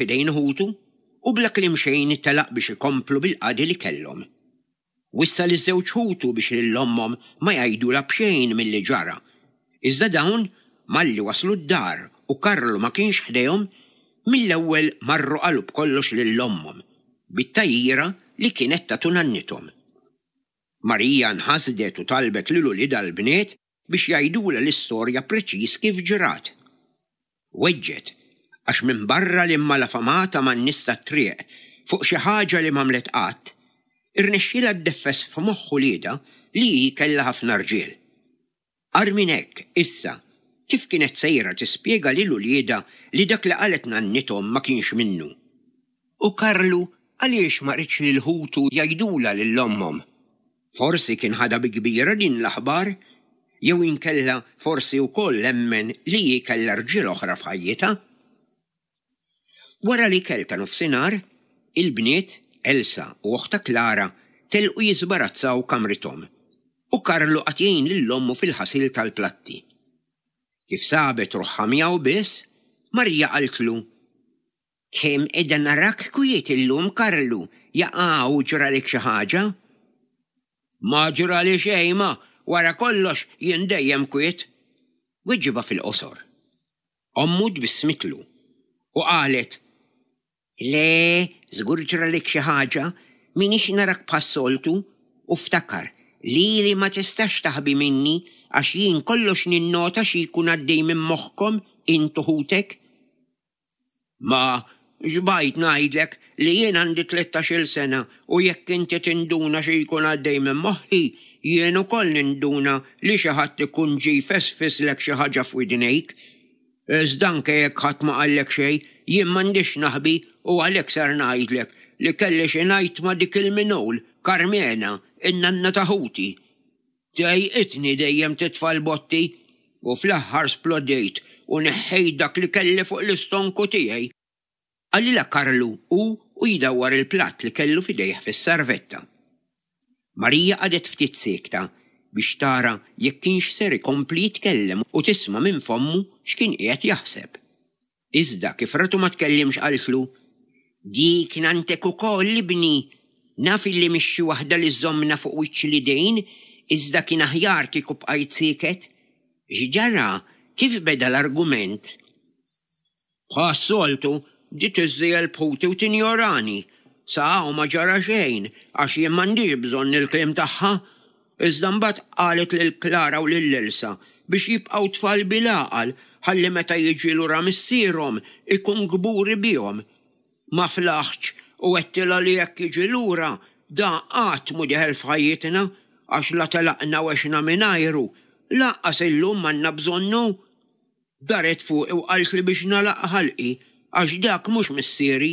f'idejn ħutu u bla kliem xejn telaq biex ikomplu bil-qadi li kellhom. Wissa liż-żewġ ħutu biex lil ommhom ma jgħidulha b'xejn milli ġara. Iżda dawn, malli waslu d-dar u Karlu ma kienx ħdejhom, mill-ewwel marru qalu b'kollox lil ommhom, bit-tgħajjira li kienet tatu nannithom. Marija nħasdet u talbet lil uliedha l-bniet biex jgħidulha l-istorja preċiż kif ġrat. Weġġgħet għax minbarra li mmalafamata man-nies tat-triq fuq xi ħaġa li m'għamlet qatt, irnexxielha ddeffes f'moħħ uliedha li hi kellha ħafna rġiel. Agħar minn hekk, issa, kif kienet sejra tispjega lil uliedha li dak li qalet nannithom ma kienx minnu? U Karlu għaliex ma riedx lil ħutu jgħidulha lil ommhom? Forsi kien ħadha bi kbira din l-aħbar, jew inkella forsi wkoll emmen li hi kellha rġiel oħra f'ħajjitha. Wara l-ikel ta' nofsinhar, il-bniet, Elsa u oħtha Clara, telqu jiżbarazzaw kamrithom, u Karlu qagħad jgħin lil ommu fil-ħasil tal-platti. Kif sabet ruħha miegħu biss, Marija qaltlu, Kemm qiegħda narak kwiet illum, Karlu, jaqa' u ġralek xi ħaġa? Ma ġrali xejn, ma, wara kollox jien dejjem kwiet, weġibha fil-qosor. Ommu tbissmitlu u qalet, Le, żgur ġralek xi ħaġa, m'iniex narak bħas-soltu, u ftakar, lili ma tistax taħbi minni għax jien kollox ninnota xi jkun għaddej minn moħħkom int u ħutek. Ma, xbajt ngħidlek li jien għandi tlettax-il sena u jekk inti tinduna xi jkun għaddej minn moħħi, jien ukoll ninduna li xi ħadd ikun ġie jfesfislek xi ħaġa f'widnejk. Iżda anke jekk ħadd ma qallek xejn, jien m'għandix x'naħbi u għalhekk ser ngħidlek li kelli xi ngħid ma' dik il-minul, Karmena, in-nanna ta' ħuti. Dejqitni dejjem titfa' l-botti u fl-aħħar splodejt u neħħejt dak li kelli fuq l-istonku tiegħi. Qalilha Karlu hu u jdawwar il-platt li kellu f'idejh fis-sarvetta. Marija qagħdet ftit siekta biex tara jekk kienx ser ikompli jitkellem u tisma' minn fommu x'kien qiegħed jaħseb. Iżda kif ratu ma tkellimx qaltlu, Dik nanntek ukoll, ibni! Naf illi mhix xi waħda li żżommna fuq wiċċ l-idejn, iżda kien aħjar kieku bqajt sieket. X'ġara? Kif beda l-argument? Bħas-soltu, bdiet iżżiegħel b'ħuti u tinjorani. Sa hawn ma ġara xejn, għax jien m'għandix bżonn il-kliem tagħha. Iżda mbagħad qalet lil Clara u lil Elsa biex jibqgħu tfal bil-għaqal ħalli meta jiġi lura missierhom ikun kburi bihom. Ma flaħtx u għedtilha li jekk jiġi lura da qatt mhu dieħel f'ħajjitna għax la telaqna u għexna mingħajru, lanqas illum m'għandna bżonnu. Daret fuqi u qaltli biex nagħlaq ħalqi għax dak mhux missieri.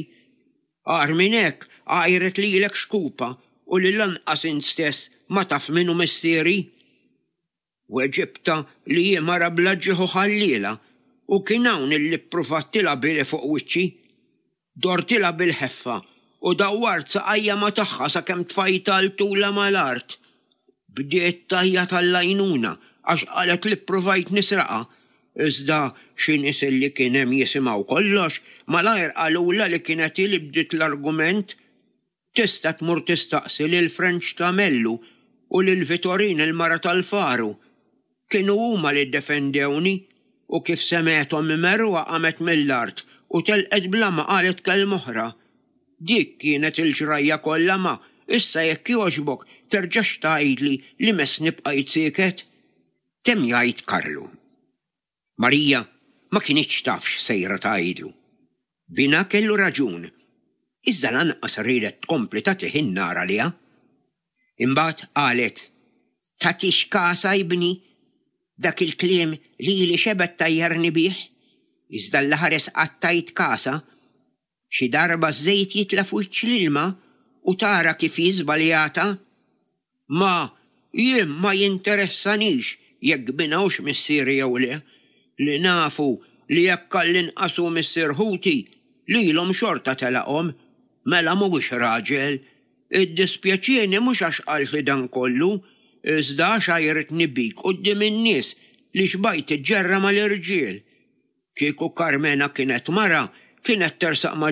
Agħar minn hekk, għajret lilek xkupa u li lanqas int stess ma taf min hu missieri. Weġibtha li hi mara bla ġieħ u ħalliela u kien hawn illi ppruvat tilgħabili fuq wiċċi. Dortilha bil-ħeffa u dawwart saqajja ma' tagħha sakemm tfajtha 'l tulha mal-art. Bdiet tgħajjat għall-għajnuna għax qalet li ppruvajt nisraqha. Iżda xi nies illi kien hemm jisimgħu kollox malajr qalulha li kienet hi li bdiet l-argument. Tista' tmur tistaqsi lil Frenċ ta' Mellu u lil Vitorin il-mara tal-Faru. Kienu huma li ddefendewni u kif semgħethom imerruha qamet mill-art u telqet bla ma qalet kelma oħra. Dik kienet il-ġrajja kollha ma, issa jekk jogħġbok terġax tgħidli li messni bqajt sieket. Temm jgħid Karlu. Marija ma kinitx taf x'sejra tgħidlu. Binha kellu raġun, iżda lanqas riedet tkompli tagħtih in-nar għaliha. Imbagħad qalet, Tagħtix kasha ibni, dak il-kliem lili xebgħet tgħajjarni bih, iżda Alla ħares qatt tgħid kasha. Xi darba ż-żejt jitla' f'wiċċ l-ilma u tara kif hi żbaljata. Ma, jien ma jinteressanix jekk binha hux missieri jew le. Li naf hu li jekk għall-inqas hu missier ħuti, lilhom xorta telaqhom. Mela mhuwiex raġel. Iddispjaċieni mhux għax qaltli dan kollu, iżda għax għajritni bik quddiem in-nies li xbajt tiġġerra mal-irġiel. Kieku Karmena kienet mara, Kienet tersaq ma'